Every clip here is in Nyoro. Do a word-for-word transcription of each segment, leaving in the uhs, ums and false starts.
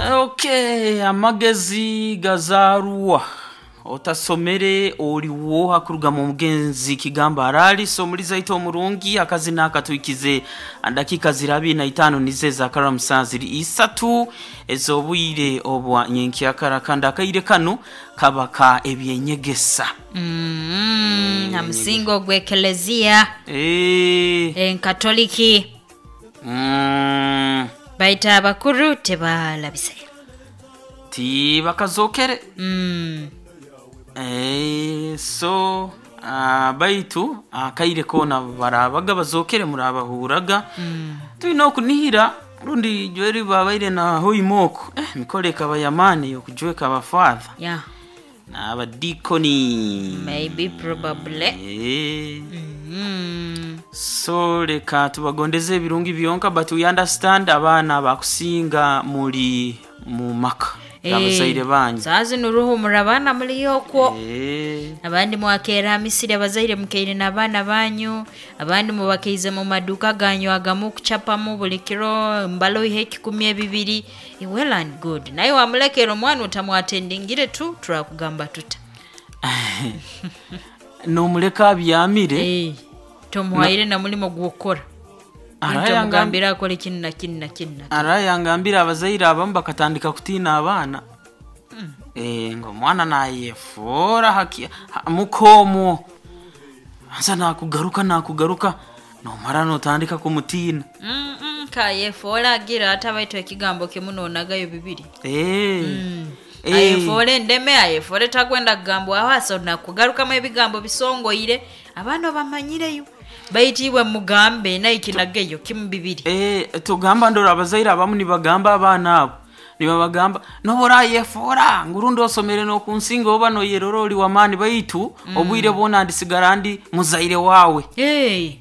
Okay, amagezi gazaarwa otasomere oliwo hakurugamu omugenzi kigamba arali so muliza ito omurungi akazina akatuikize dakika ziri na itano nize zakara musanziri isatu ez'obwire obwa nyenkyakara kandi akaire kano kaba ka ebyenyegesa. Mm, na musingo gw'ekelezia Eh, enkatoliki mm, baita abakuru tebalabise. ti bakazokere. Mm. Eh, so ah, baitu akaire kona barabaga bazokere murabahuraga. Mm. Tulina okunihira rundi jweri babaire na hoimoko eh, mikole ekaba yamaani yokujweka abafatha Yeah, n'abadikoni. maybe probably. Eh, Mm. so leka tubagondeze ebirungi byonka, but we understand abaana bakusinga muli mu maka abazaire banyu. Saazi nuruhumura abaana muliyo okwo. Eh, abandi mwakeera misiri abazaire mukeire n'abaana banyu, abandi mubakeize mu maduka ganyu agamu kuchapamu buli kiro mbaloihe ekikumi ebibiri. Well and good, naye wamulekera omwana otamwatendingire tu turakugamba tuta. Nomuleka abyamire. Eh, tomuhaire na mulimo gwokukora. Arayangam- Tomugambira akole kinu na kinu na kinu na kinu. Arayangambira abazaire abamu bakatandika kutiina abaana. Eh, ngo omwana nayefoora haki ha- mukoomwo ansa nakugaruka nakugaruka nomara notandika kumutiina. Mm, mm, kayefoora agira ate ekigambo kimu nonagayo bibiri. Eh, Mm. eh, Ayefoore endeme, ayefoore takwenda kugambwaho asa nakugarukamu ebigambo bisongoire abaana obamanyireyo baitu iwe mugambe naye kinageyo kimu bibiri. Eh, tugamba ndora abazaire abamu nibagamba abaana abo nibabagamba noba orayefoora ngurundi osomere nokunsinga oba noyerora oli wamaani baitu obwire bwona ndisigara ndi muzaire wawe. Hey.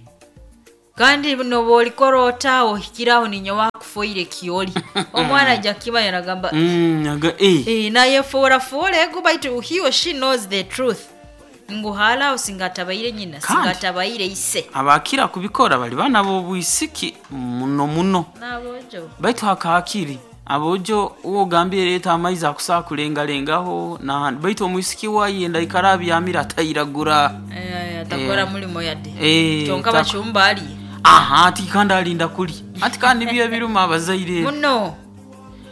Kandi noba olikora ota ohikiraho ninye wakufoire kioli omwana ajja kiba yaragamba. Mm, aga- eh. Eh, nayefoora foora ego baitu he or she knows the truth ngu halaho singatabaire nyina. Kandi- Singatabaire ise. Abakira kubikora bali bana b'obwisiki muno muno. Nabojo. Baitu hakahakiri abojo uwo ogambire leta amaizi akusaa kulengalengaho nahandi baitu omwisiki wayenda ikara abyamire atayiragura. Eh, atakora Eh. mulimo yadde. Eh, kyonka tak- bachumba ali. Aha, ati kandi alinda kuli ati kandi nibyo ebiruma abazaire. Muno.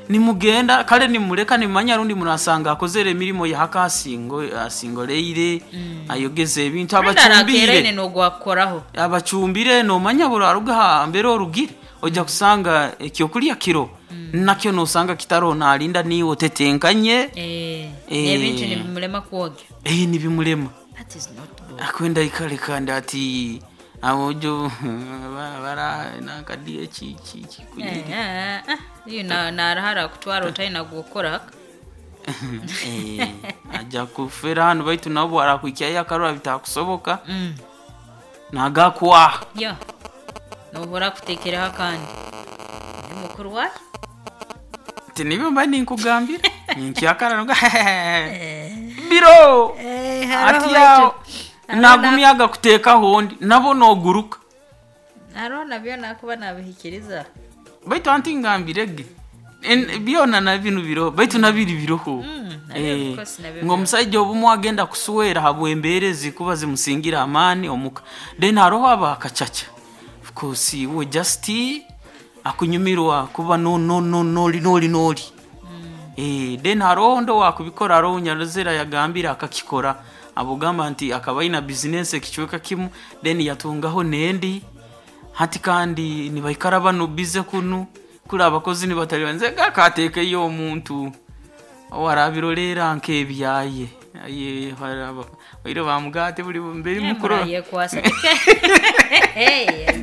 Nimugenda kale nimuleka nimumanya rundi murasanga akozere emirimu yahaka asingo asingoleire ayogeze ebintu abachumbiire abacumbire nogwakukoraho. Abacumbire nomanya buri aruga hambere orugire ojja kusanga ekyokulya kiro nakyo nosanga kitaro nalinda niwe otetenkanye. Eh, Eh. n'ebintu nibimulema kwoga. Eh, nibimulema. That is not good. Akwenda ikale kandi ati abojo bara nakadiye ki ki ki Eh, kunyiri. eh, eh, iyo na- narahara kutwara otalina gwokukora. Eh, ajja kufera hano baitu nabo arakwikyayo akarora bitakusoboka Mm. nagakwaha. Ya nohora kutekeraho akandi Ni mukuru wayo. Ti nibyo mba ninkugambira ninkyakara nuga biro ati yawo nagumya agakuteekaho ondi nabo noguruka. Hariho nabyo nakuba nabihikiriza. Baitu anti ngambire ge En- byona na binu biroho baitu nabiri biroho. Mm, nabyo Eh, of course nabyo ngo biroho. omusajja obumu agenda kusuwera habwembeera ezikuba zimusingira amaani omuka, then haroho abakacaca of course we just akunyumirwa kuba no no no noli noli noli. Eh, then haroho ndo wakubikora haroho nyarozera yagambira akakikora abugamba nti akaba aina bizinesi ekicweka kimu then yatungaho nendi hati kandi nibaikara bano bize kunu kuri abakozi nibatali nze gakatekeyo omuntu owarabirolera nk'ebyaye aye haraba oire bamugate buli mberi mukuru. Yekwasa. Hey, yeah.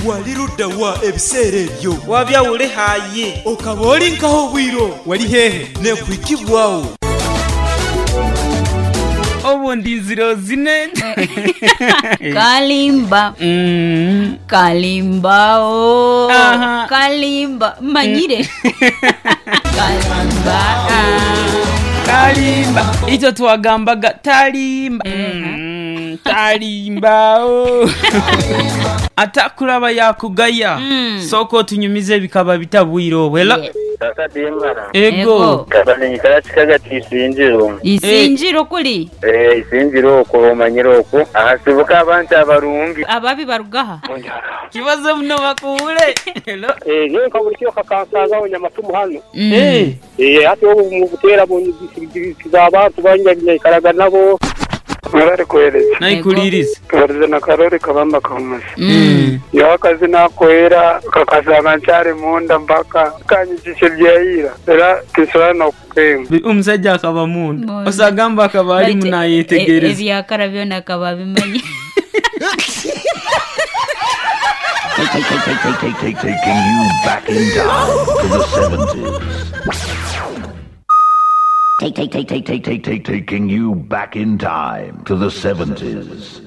Wali ludda wa ebiseera ebyo? Wabyawule haye. Okaba oli nkaho obwiro? Wali hehe? Nekwikibwawo. Obundi nziro zine. Kalimba. Mm. Kalimba o. Aha. Kalimba manyire kalimba ah. Kalimba icyo twagambaga talimba. Mm, talimba o. Atakulaba yakugaya. Sooka otunyumize ebikaba bitabwire obwo. Hello? Yeah. Kaka Demara. Ego. Kabanyikara kikaga tisinjiro. Isinjiro kuli Eh isinjiro okwo omanyire okwo. Ahasibuka abantu abarungi. ababi barugaha. Kibazo muno bakuwule. Hello? Eh, nyewe nkabulikio kakansangaho nyamatumu hano. Mm. Eh. Eh, hati obu mu buteera bunyigiza abantu banyaikaraga nabo. Murari kuhereza Naikuliriza. barize na karori kabamba kamuzi Mm. nyowe akazi nakoera kakasanga nkyari munda mpaka kanyikisha ebyayira era tinsobola nokukenga Omusajja akaba munda. Munda. Osagamba akaba ali Baitu, e- munayetegereza. ebyakara byona akaba abimanyi. Take, take, take, take, take, take, take, taking you back in time to the seventies. Take, take, take, take, take, take, take, taking you back in time to the seventies.